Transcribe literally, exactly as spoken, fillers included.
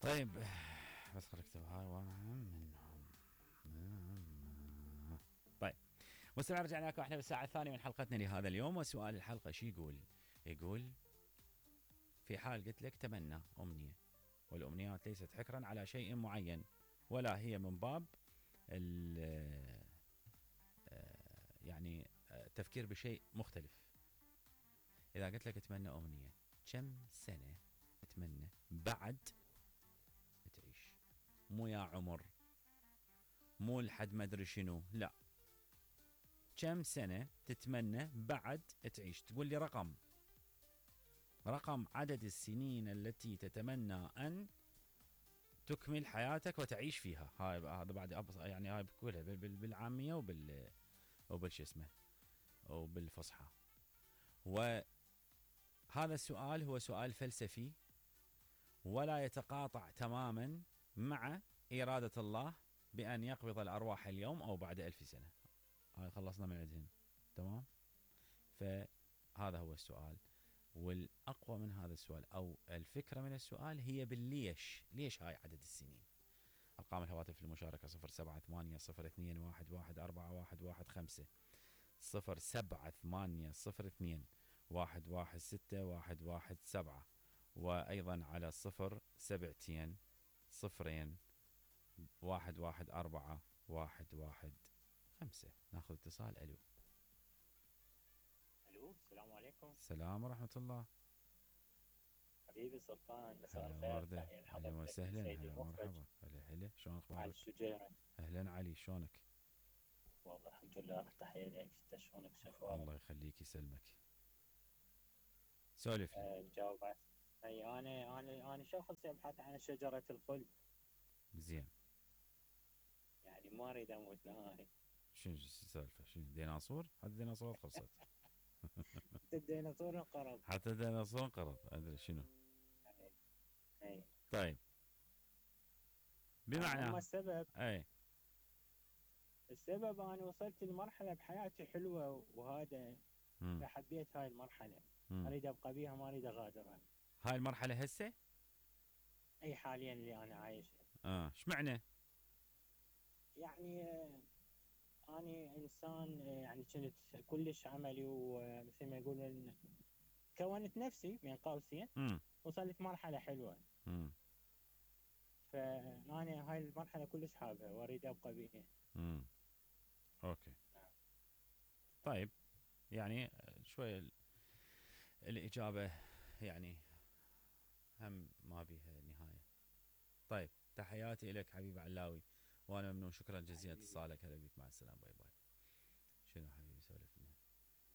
طيب بس خليك اكتب هاي واحد منهم. طيب مستمعين، رجعنا لكم احنا بالساعة الثانية من حلقتنا لهذا اليوم، وسؤال الحلقة شو يقول؟ يقول في حال قلت لك تمنى أمنية، والأمنيات ليست حكرا على شيء معين، ولا هي من باب يعني التفكير بشيء مختلف. إذا قلت لك اتمنى أمنية، كم سنة تتمنى بعد تعيش؟ مو يا عمر، مو لحد ما ادري شنو، لا، كم سنة تتمنى بعد تعيش؟ تقول لي رقم رقم عدد السنين التي تتمنى أن تكمل حياتك وتعيش فيها. هاي هذا بعد يعني هاي بقولها بالعامية وبال وبالش اسمه وبالفصحى. وهذا السؤال هو سؤال فلسفي، ولا يتقاطع تماما مع إرادة الله بأن يقبض الأرواح اليوم أو بعد ألف سنة. هاي خلصنا من عندهم، تمام؟ فهذا هو السؤال، والأقوى من هذا السؤال أو الفكرة من السؤال هي بالليش. ليش هاي عدد السنين؟ أرقام الهواتف في المشاركة صفر سبعة ثمانية صفر اثنين واحد واحد أربعة واحد واحد خمسة، صفر سبعة ثمانية صفر اثنين واحد واحد ستة واحد واحد سبعة، وأيضا على صفر سبعتين صفرين واحد واحد أربعة واحد واحد خمسة. ناخذ اتصال. ألو. الو، السلام عليكم. السلام ورحمة الله. حبيبي سلطان، مساء هلا الخير. وردة، تحية أهلا لحضرتك وسهلا، سيدي هلا المخرج مرحبا، هلا هلا، شلون علي أخبارك؟ الشجيري. أهلا علي، شلونك؟ والله الحمد لله، تحية لك. انت شلونك؟ شو اخبارك؟ الله يخليك يسلمك. سولف لي. أه جاوب. اي انا انا انا شخص يبحث عن شجرة الخلد. زين. يعني ما اريد اموت نهائي. شنو السالفة؟ شنو ديناصور؟ حتى الديناصورات خلصت. الديناصور انقرض. حتى الديناصور انقرض، أدري شنو. اي اي طيب بمعنى اما السبب اي السبب انا وصلت لمرحلة بحياتي حلوة، وهذا مم. فحبيت هاي المرحلة. مم. اريد ابقى بيها، ما اريد اغادرها. هاي المرحلة هسه؟ اي حاليا اللي انا عايشها. اه ايش معنى؟ يعني أنا إنسان يعني كنت كلش عملي، ومثل ما يقولون كونت نفسي بين قوسين. امم وصلت مرحلة حلوة، امم فأنا هاي المرحلة كلش حابها وأريد أبقى بيها. امم اوكي. طيب يعني شوية ال- الإجابة يعني هم ما بيها نهاية. طيب تحياتي لك حبيب علاوي، وأنا ممنون، شكرا جزيلا اتصالك. هلا بيك، مع السلامة، باي باي.